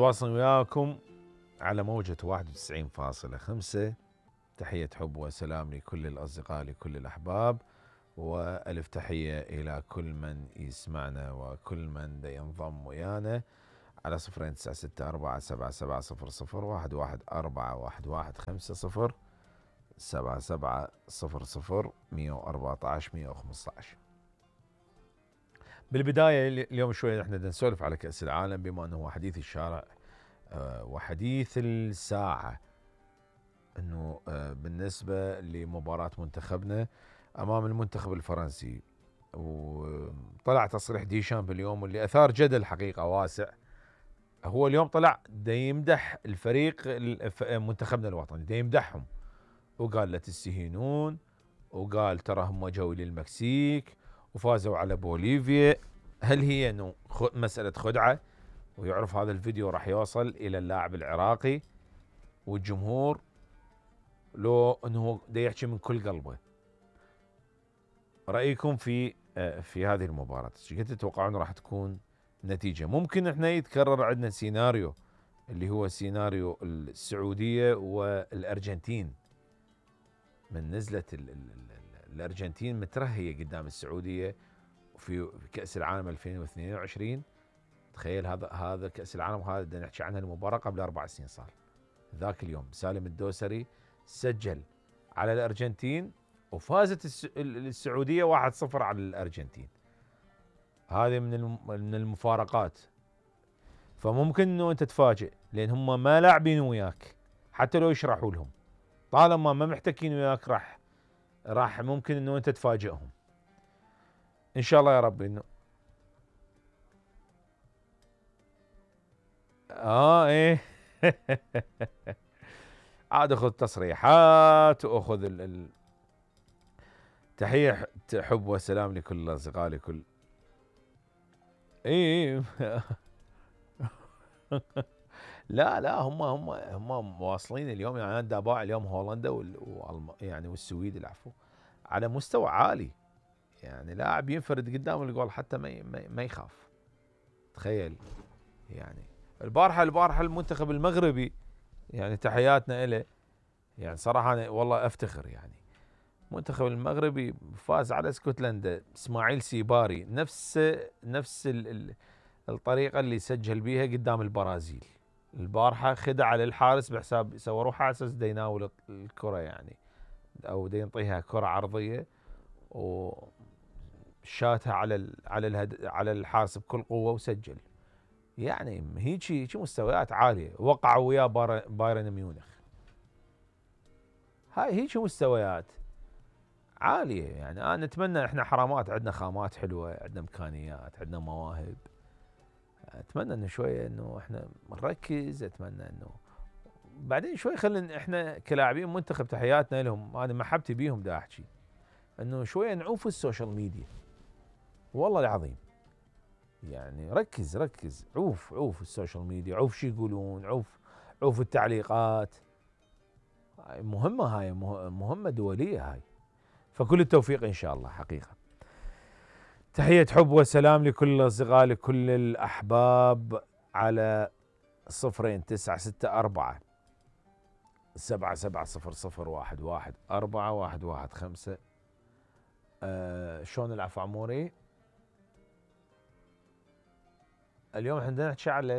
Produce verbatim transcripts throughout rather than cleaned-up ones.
متواصل وياكم على موجة واحد وتسعين فاصلة خمسة. تحية حب وسلام لكل الأصدقاء لكل الأحباب، وألف تحية إلى كل من يسمعنا وكل من ينضم ويانا على صفرين تسعة ستة أربعة سبعة سبعة صفر صفر واحد واحد أربعة واحد واحد خمسة صفر سبعة سبعة صفر صفر مية وأربعة عشر مية وخمسة عشر. بالبداية اليوم شوية احنا نسولف على كأس العالم بما انه هو حديث الشارع وحديث الساعة، انه بالنسبة لمباراة منتخبنا امام المنتخب الفرنسي. وطلع تصريح ديشامب اليوم واللي اثار جدل حقيقة واسع. هو اليوم طلع دا يمدح الفريق منتخبنا الوطني، دا يمدحهم وقال لا تستهينون، وقال ترى هم جو للمكسيك وفازوا على بوليفيا. هل هي انه مسألة خدعة؟ ويعرف هذا الفيديو راح يوصل الى اللاعب العراقي والجمهور، لو انه دا يحكي من كل قلبه. رأيكم في في هذه المباراة، ايش قد تتوقعون راح تكون النتيجة؟ ممكن احنا يتكرر عندنا سيناريو اللي هو سيناريو السعودية والأرجنتين، من نزلت ال ال ال الأرجنتين مترهية قدام السعودية في كأس العالم ألفين واثنين وعشرين. تخيل هذا هذا كأس العالم، هذا بدنا نحكي عنها المباراة قبل أربع سنين صار. ذاك اليوم سالم الدوسري سجل على الأرجنتين وفازت السعودية واحد صفر على الأرجنتين. هذه من من المفارقات. فممكن انه انت تتفاجئ لان هم ما لاعبين وياك حتى لو يشرحوا لهم، طالما ما محتكين وياك راح راح ممكن انه انت تفاجئهم. ان شاء الله يا رب انه اه ايه عاد اخذ تصريحات واخذ ال... ال... تحية حب وسلام لكل الاصدقاء لكل ايه لا لا هم هم هم واصلين اليوم. يعني انا دابا اليوم هولندا وال... وال... يعني والسويد العفو على مستوى عالي. يعني لاعب ينفرد قدام الجول حتى ما ما يخاف. تخيل يعني البارحه البارحه المنتخب المغربي، يعني تحياتنا له، يعني صراحه أنا والله افتخر. يعني المنتخب المغربي فاز على اسكتلندا، اسماعيل سيباري نفس نفس ال ال الطريقه اللي سجل بيها قدام البرازيل. البارحه خدع على الحارس بحساب صوروه حاسس دا يناول الكره، يعني او دا ينطيها كره عرضيه وشاتها على على الهد على الحارس بكل قوه وسجل. يعني هيك هيك مستويات عاليه. وقعوا وياه بايرن ميونخ. هاي هيك مستويات عاليه. يعني انا نتمنى احنا حرامات عندنا خامات حلوه، عندنا امكانيات، عندنا مواهب. اتمنى انه شويه انه احنا نركز. اتمنى انه بعدين شوي خلينا احنا كلاعبين منتخب، تحياتنا لهم، انا محبتي بيهم دا احكي انه شويه نعوف السوشيال ميديا. والله العظيم يعني ركز ركز عوف عوف السوشيال ميديا، عوف شو يقولون، عوف عوف التعليقات. مهمه هاي، مهمه دوليه هاي. فكل التوفيق ان شاء الله حقيقه. تحية حب وسلام لكل الأصدقاء لكل الأحباب على صفرين تسعة ستة أربعة سبعة سبعة صفر صفر واحد واحد أربعة واحد واحد خمسة. آه شلون العفو عموري؟ اليوم احنا نحكي على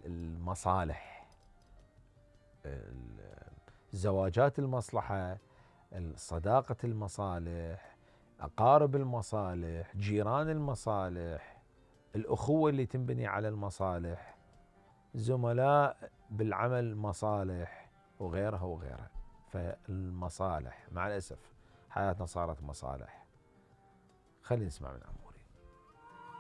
المصالح، زواجات المصلحة، صداقة المصالح، أقارب المصالح، جيران المصالح، الأخوة اللي تنبني على المصالح، زملاء بالعمل مصالح، وغيرها وغيرها. فالمصالح مع الأسف حياتنا صارت مصالح. خلينا نسمع من عمو.